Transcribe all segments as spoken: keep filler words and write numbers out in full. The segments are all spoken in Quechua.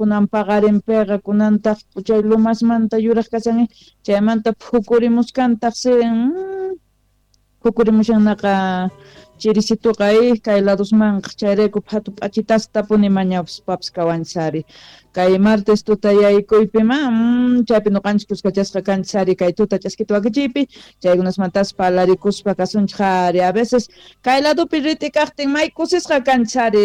Kunan paqarinpiqa kunantaq chay lumasmanta yuraq kashan chaymanta phukurimuskantaqsi phukurimushannaqa chirisituqa kay ladosmanqa chayrayku phatu p'achitastapuni mañaspapis kawanchis ari kay martes tuta yaykuypima chaypi nuqanchis kuskachasqa kanchis ari kay tuta ch'askita wakichiypi chaykunasmantas parlarikuspa kasunchik ari a veces kay ladopi rit'i kaqtin may kusisqa kanchis ari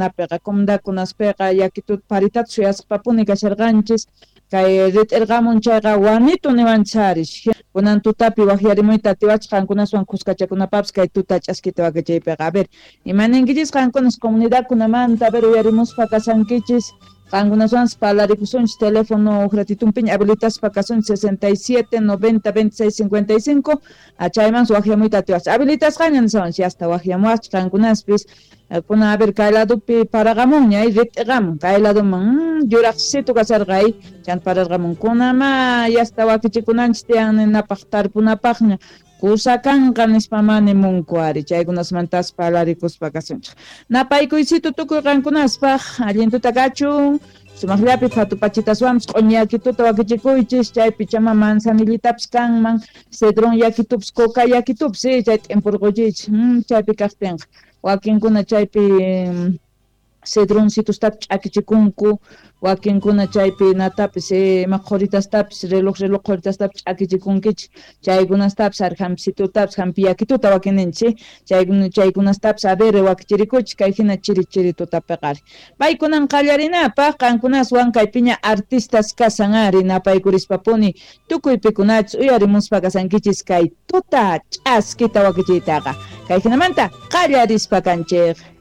napiqa comunidadkunaspiqa yakituta paritata suyasqapapuni kasharqanchis kay rit'irqamun chayqa wanitu niwanchis ari kunan tutapi waqyarimuyta atiwachis qankunaswan kuskachakunapapis kay tuta ch'askita wakichiypiqa a ver imaninkichis qankunas comunidadkunamanta a ver uyarimuspa kasankichis qankunaswanpas parlarikusunchis teléfono uqratitunpiña habilitaspa kasunchis sesenta y siete noventa veintiséis cincuenta y cinco chaymanpas waqyamuyta atiwachis habilitasqaña nishawanchis hasta waqyamuwachis qankunaspis kunan a ver kay ladopi paraqamunña rit'iqamun kay ladoman yuraqsito kasharqa chanta pararqamun kunama yasta wakichikunanchis tiyan ninapaq tarpunapaqña kusa kanqa nispa mani munku ari chaykunasmantas parlarikuspa kasunchik napaykuysito tukuy qankunaspaq allin tuta kachun sumaqllapi phatu pachitaswanpas q'uñi yakituta wakichikuychis chaypi chama manzanillitapis kanman cedrón yakitupis coca yakitupis chay t'impurquychis chaypi kaqtinqa wakinkuna chaypi cedroncitostapis ch'akichikunku wakinkuna chaypi natapis ima qhuritastapis reloj reloj qhuritastapis ch'akichikunkichis chaykunastapis ari hampicitutapis hampi yakituta wakininchis chaykuna chaykunastapis a ver wakichirikuchis kay hina chiri chiri tutapiqa ari paykunan qallarinapaq qankunaswan kaypiña artistas kasan ari napaykurishpapuni tukuy pikunachis uyarimuspa kasankichis kay tuta ch'askita wakichiytaqa kay hinamanta qallarispa kanchik.